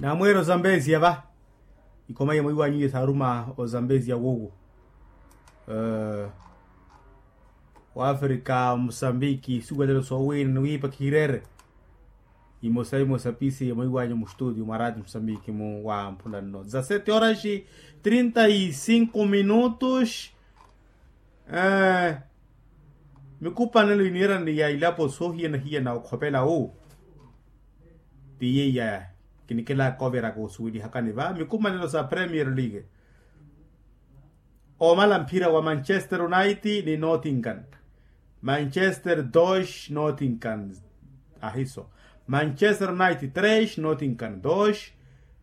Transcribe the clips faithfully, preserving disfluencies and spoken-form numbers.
Namweera ozambezia va. Ikhoma ya mwiiwanyu iye saaruma ozambezia wowo. Wafrika musambiki suwelelo soowiina ni wiipa khireere. Imosa imosa pisi ya mwiiwanyu mu studio mwa radio musambiki mu wa mpula nno za sete horas trinta e cinco minutos. Mikupanelo iniirani ya ilapo soohiyana-hiyana okhopela wu. Ti yeiya kinikelaka oviraka osuwelihakani va mikumanelo sa premier league. Omala mphira wa manchester united ni nottingham. Manchester dos nottingham. Ahiso. Manchester united tres nottingham dos.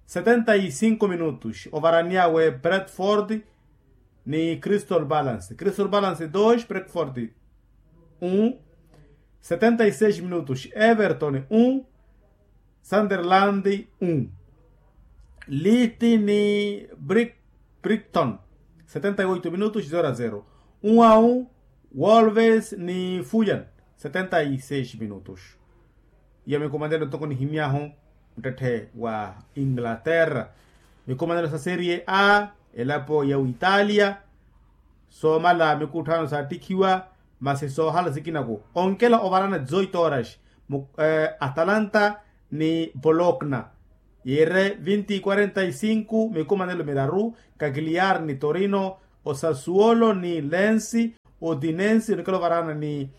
Setenta e cinco minutos ovaraniawe brentford ni crystal balance crystal balance dos brentford un. Setenta e seis minutos everton un. Sunderland un. Liti ni bricton. Setenta e oito minutos zero a zero. Un a un. Wolves ni fuyan. Setenta e seis minutos. Iya mikumanelo ntoko nihimyahu muttetthe wa inglaterra. Mikumanelo sa serie a elapo ya witalia. Soomala mikutthano saattikhiwa masi soohala sikinaku onkela ovarana zoitoras. Atalanta ni bolokna yiire vinti quarenta e cinco mikumanelo miraru. Kakiliyar ni torino. Osasuolo ni lensi. Otinensi onikela ovarana ni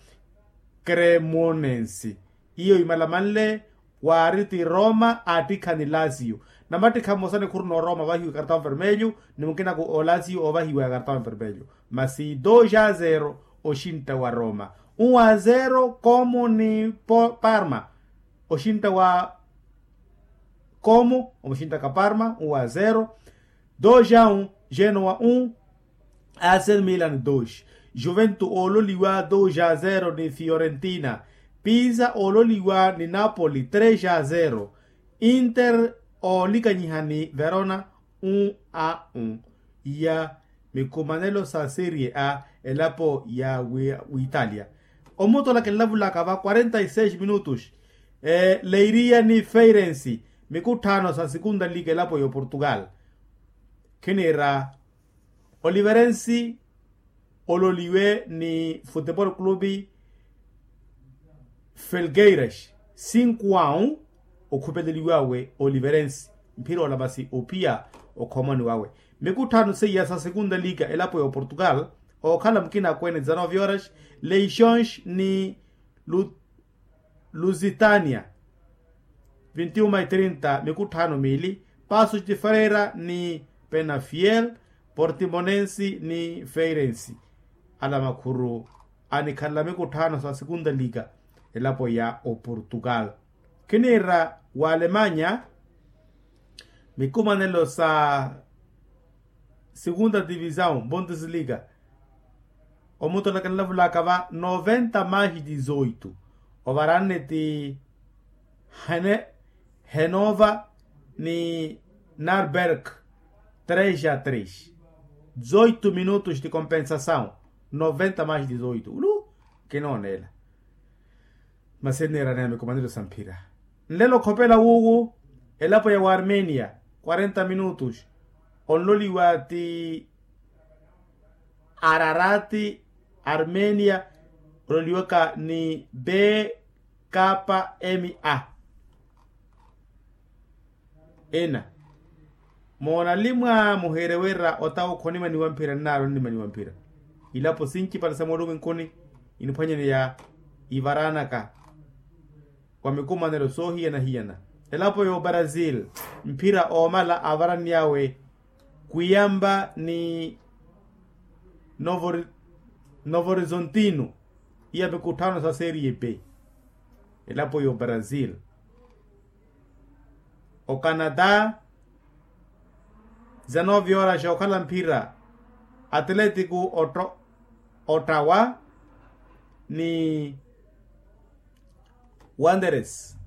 kremonensi. Iyo imalamanle waari ti roma aattikha ni lasio. Namattikha mmosa nikhuru n'oroma ovahiwa kartão vermelho ni mukinaku olasio ovahiwa ya kartão vermelho. Masi dos a zero oxintta wa roma. Un a zero como ni parma. Oxintta wa como omuxinttaka parma un a zero. Dos a un. Genoa un. Asen milan dos. Juventu oololiwa dos a zero ni fiorentina. Pisa oololiwa ni napoli tres a zero. Inter oolikanyiha ni verona un a un. Iya mikumanelo sa serie a elapo ya witalia. Omutola kinlavulaka va quarenta e seis minutos. Leiria ni feirensi mikutthano sa sikunta lika elapo ya oportugal. Khiniira oliverensi ololiwe ni futebol clube felgueiras. Cinco a un. Okhupeleliwawe oliverensi mphira ola masi ophiya okhomoni wawe. Mikutthano seiya sa sikunta lika elapo ya oportugal ookhala mukina akweene dezanove horas. Leixões ni lusitania. Vinti uma e trinta mikutthano miili. Pasos de freira ni penafiel. Portimonensi ni feirensi. Ala makhuru anikhalela mikutthano sa sikunta lika elapo ya oportugal. Khiniira wa alemanya mikumanelo sa sikunta divisaw bundesliga. Omutola kinilavulaka va noventa mais dizoito. Ovaranne ti hene henova ni narberg tres a tres. Dizoito minutos ti compensasaw noventa mais dizoito ulu. Kinoonela masi eniiraniya mikumanelo sa mphira. Nlelo okhopela wuwu elapo ya waarmenia. Quarenta minutos onloliwa ti ararati armenia. Ololiwaka ni b kapa m a. Ena moona limwa muhiire wira otawo khonimaniwa mphira nnaari onimaniwa mphira. Ilapo sincipale sa moolumwinkuni iniphwanyaneya ivaranaka wa mikumanelo soohiyana-hiyana. Elapo ya obrasil mphira oomala avaranny'awe kuyamba ni novo horizontino. Iya mikutthano sa serie b elapo ya obrasil. Ocanada. Dizanove horas okhala mphira atlético ottawa ni wanderes.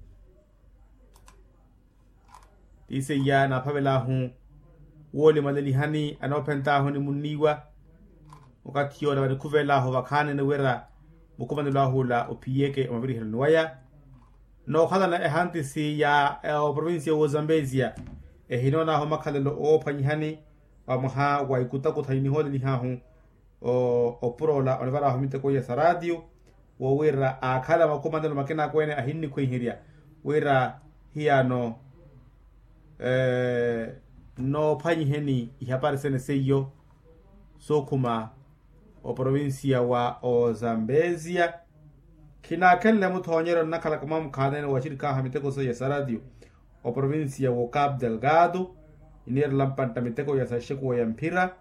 Ti seiya naaphavel'ahu woolimalelihani anoophent'ahu ni munniiwa. Okathi yoola vanikhuvel'ahu vakhaanene wira mukumanelo ah'ula ophiyeke omaviriheroni waya. nookhalana ehantisi ya oprovincia w'ozambezia, ehinoon'ahu makhalelo oophwanyihani, wa mwaha wa ikutakutha inihoolelih'ahu opuroola onivar'ahu miteko iya sa ratio, wo wira aakhala makumanelo makinakweene ahinnikhwiihirya wira hiyano noophwanyiheni ihapari sene seiyo sookhuma oprovincia wa ozambezia. Khinaakhenle muthoonyeryo nnakhalaka mwa mukhaanene wa axirik'ahu a miteko seiya sa ratio oprovincia wo cap delgado, iniirela mpantta miteko ya saxekuwa ya mphira.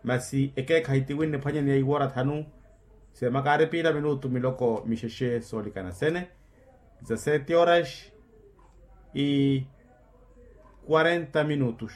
Masi ekeekhayi tiwinne ephwanyaneya iwoora thanu, seemaka ari piila minutu miloko mixexe soolikana sene, za sete horas e quarenta minutos.